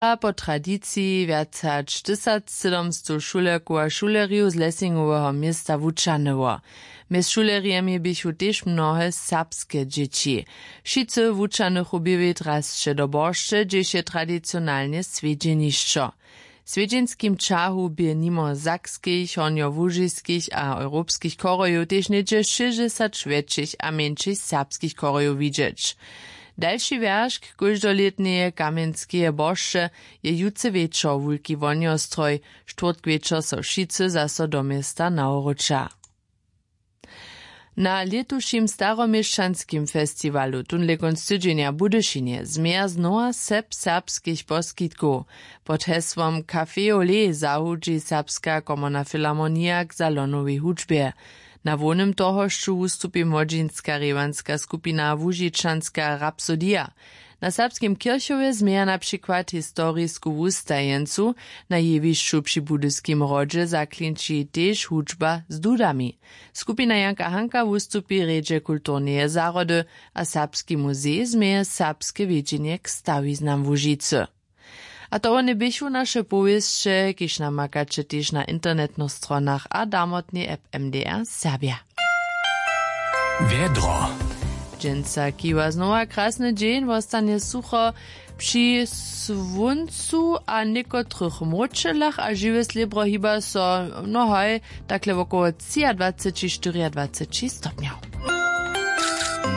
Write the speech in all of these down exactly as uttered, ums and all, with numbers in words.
A po tradiciji wjac hač tysacsydomstow šulerkow a šulerjow z lesingoweho města wučahnyło. Mjez šulerjemi běchu tež mnohe serbske dźěći. Wšitcy wučahnychu bě wět rasće do boršće, hdźež je tradicionalnje swjedźenišćo. W swjedźenskim ćahu bě nimo sakskich, hornjołužiskich a europskich chorojow tež něhdźe šěsćdźesat wjetšich a mjeńšich serbskich chorojow widźeć. Dalši wjeršk kóždolětneje kamjenskeje boršće je jutře wječor wulki wohnjostroj. Štwórtk wječor so wšitcy zaso do města nawróća. Na lětušim staroměšćanskim festiwalu tónle kónc tydźenja w budyšinje změja znowa sep serbskich poskitkow. Pod hesłom café olé zahudźi serbska komorna filharmonija k salonowej hudźbje. Na hłownym tohošću wustupi młodźinska rěwanska skupina łužičanska rapsodija. Na serbskim kěrchowje změja na přikład historisku wustajeńcu. Na jewišću při budyskim hrodźe zaklinči tež hudźba z dudami. Skupina janka hanka wustupi w rjedźe kulturneje zahrody. A serbski muzej změje serbske wědźenje k stawiznam łužicy. A to wone běchu naše powěsće, kiž namakaće tež na internetnych stronach a damotnej app mdr serbja. Wjedro. Dźensa kiwa znowa krasny dźeń, wostanje sucho. Při słóncu a někotrych mróčelach a žiwje slěbro hiba so, no haj, takle wokoło třiadwaceći štyriadwaceći stopnjow.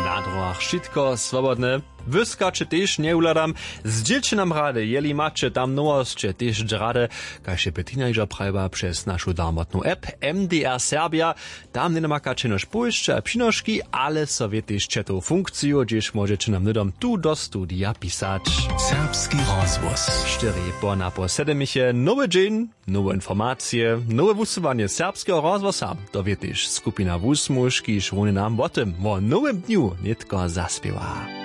Na dróhach wšitko swobodne. Wyskaće tež njewhladam. Zdźělće nam rady, jeli maće tam nowosće tež rady, kaž je petina hižo prajiła, přez našu darmotnu app mdr serbja. Tam njenamakaće jenož powěsće a přinoški, ale so wětež četow funkciju, hdźež móžeće nam hnydom tu do studija pisać. Serbski rozhłos. Štyri po napoł sedemich je nowy dźeń, nowe informacije, nowe wusyłanje serbskeho rozhłosa. To wě tež skupina wusmuž, kiž wone nam wo tym, wo nowym dnju nětko zaspěwa.